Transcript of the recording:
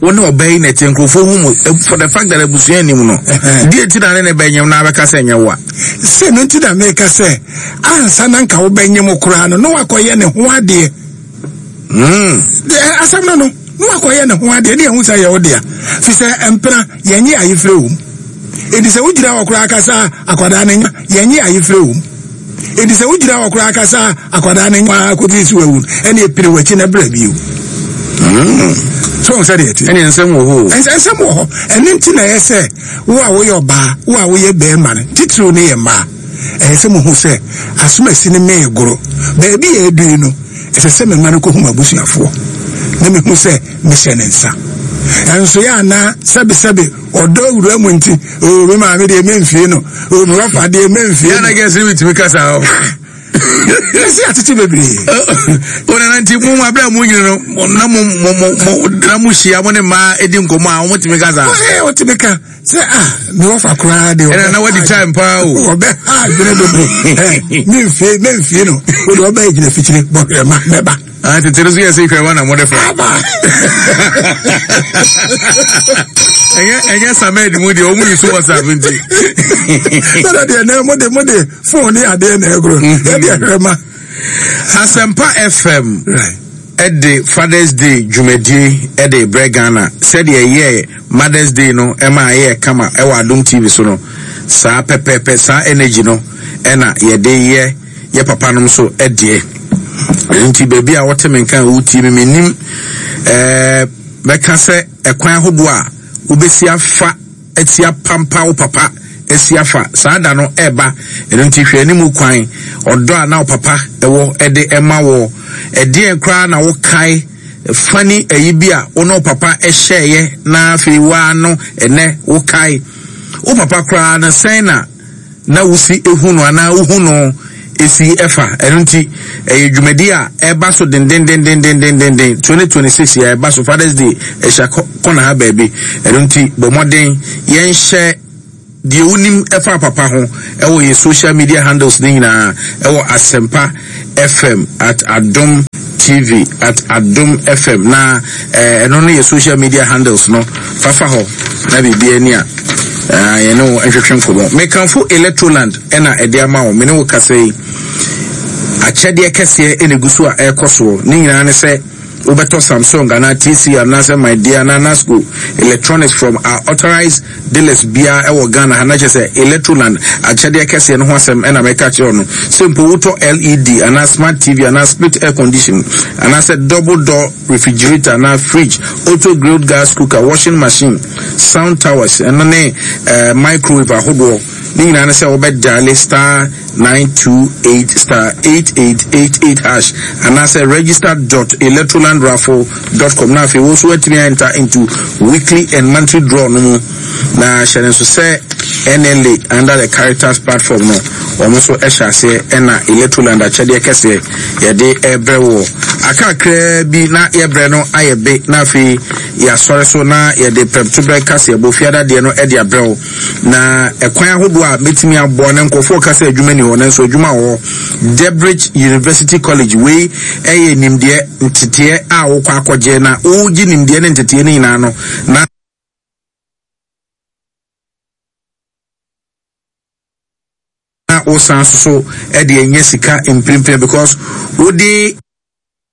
Wo ne ɔbaa yi na ɛte nkurɔfoɔ hu mu for the fact that abusua anim no deɛ nti na ne ne bɛnyem na abɛka sɛ nyɛ wo a. Sɛ no nti na meka sɛ ansa na nka wobɛnyem koraa no na wakɔyɛ ne ho adeɛ. Hmm. Asɛm no no na wakɔyɛ ne ho adeɛ ne ɛho sɛ yɛ wo dea fi sɛ mpena yɛnye ayefrɛ wom. Enti sɛ wogyina hɔ koraa kasa akwadaa no nya yɛnye ayefrɛ wom. Enti sɛ wogyina hɔ koraa kasa a, akwadaa no nwa kɔsi sɛ wawu no, ɛne ɛpere w'akyi na bra bio. Hmm. So wɔn sɛdeɛ ɛte. Ɛne nsɛm wɔ hɔ. Nsɛm wɔ hɔ. Ɛno nti na ɛyɛ sɛ wo a woyɛ ɔbaa, wo a woyɛ bɛrima no, titiriw no yɛ mmaa. Ɛyɛ sɛ muhu sɛ asomasi no mee goro. Baabi a ɛdu yi no, ɛsɛ sɛ mema no kɔhu m'abusuafoɔ na mehu sɛ mehyɛ ne nsa. Ɛnso yɛ anaa sɛbesɛbe ɔdɔ awura mu nti oo me maame deɛ memfie no oo me wafa deɛ memfie no. Yàrá gẹ̀ẹ́sì mi tìmí kasa o. Ɛsɛ atete bebree. O nana nti mo mu abira mu nyina no na mo mo mo mo na mo hyia mo ne mmaa edi nkɔmɔ a wɔn tìmí kasa. Ɔyɛ ɔtìmí ka sɛ ah me wafa koraa deɛ. Ɛna na wadi time paa o. Ɔbɛ ha adwene dodo ɛ memfie memfie no o de ɔbɛ gyina fikyire bɔ hwɛ ma mɛba. Ah, tete no so yɛ sɛ hwɛ wa na mode fa. Aba. Ɛnyɛ ɛnyɛ samed mu deɛ ɔmu yi so WhatsApp nti. Sɛdeɛ deɛ nɛ mode mode phone ne adeɛ na ɛgoro. Yɛde hwɛ ma. Asɛmpa FM ɛde Father's Day dwumadie ɛde brɛ Ghana sɛdeɛ ɛyɛ Mother's Day no ɛma ɛyɛ kama ɛwɔ Adom TV so no saa pɛpɛɛpɛ saa energy no ɛna yɛde yɛ. Yɛ papa nom so deɛ. Ɛno nti baabi a wote me nka a wotie me mennim ɛɛ mɛka sɛ ɛkwan ahodoɔ a wobɛsi afa asi apampa wo papa asi afa saa da no ɛba ɛno nti hwɛ anim kwan ɔdɔ a na wo papa ɛwɔ ɛde ɛma wɔ ɛdeɛn koraa na wokae fani ayi bi a wo ne wo papa ɛhyɛɛyɛ na afei waa no ɛnɛ wokae wo papa koraa no sɛn na na wusi hu no anaa wuhu no si fa. Ɛno nti, ɛyɛ dwumadi a ɛba so dendendendendendenden. 2026 yɛ ɛba so Father's Day ɛhyɛ kɔna ha baabi. Ɛno nti, bɔ mmɔden yɛnhyɛ deɛ wonim ɛfa papa ho ɛwɔ yɛ social media handles ne nyinaa ɛwɔ Asɛmpa FM at Adom TV at Adom FM na eh, ɛno no yɛ social media handles no fafa hɔ na biribi ani a eh, yɛne wo nhwehwɛ nkɔmmɔ. Mekamfo Electroland ɛna ɛde ama wo me ne wo kasa yi akyɛdeɛ kɛseɛ ɛna egu so a ɛrekɔ soɔ ne nyinaa ne sɛ wobɛtɔ Samsung anaa TCL anaasɛ Midea anaa Nasco electronics from our authorized dealers biara ɛwɔ Ghana ha na kyerɛ sɛ Electroland akyɛdeɛ kɛseɛ no ho asɛm ɛna mɛka kyerɛ no sɛ mpo wotɔ LED anaa smart TV anaa split air condition anaasɛ double door refrigerator anaa fridge auto grilled gas cooker washing machine sound towers ɛno ne uh, microwave ahodoɔ ne nyinaa ne sɛ wobɛdiale star 928 star 8888 hash anaasɛ register dot electrolandraffle dot com na afei wo nso woatumi enter into weekly and monthly draw no mu na hyɛ no nso sɛ NLA under the Caritas platform no wɔn nso hyɛ aseɛ ɛna Electroland akyɛdeɛ kɛseɛ yɛde ɛbrɛ wɔ akakraa bi na yɛbrɛ no ayɛ be na afei yɛasɔre so na yɛde prɛmtoberɛ kaseɛbɔ fiada deɛ no ɛde abrɛ wo Na ɛkwan ahodoɔ a mɛtumi aboa na nkurɔfoɔ ka sɛ adwuma ni hɔ nanso adwuma wɔ hɔ. Debridge University College wei ɛyɛ nimdeɛ nteteɛ a wokɔ akɔgye na wogye nimdeɛ ne nteteɛ no nyinaa no na wosan so so ɛde anya sika mprempren because wode.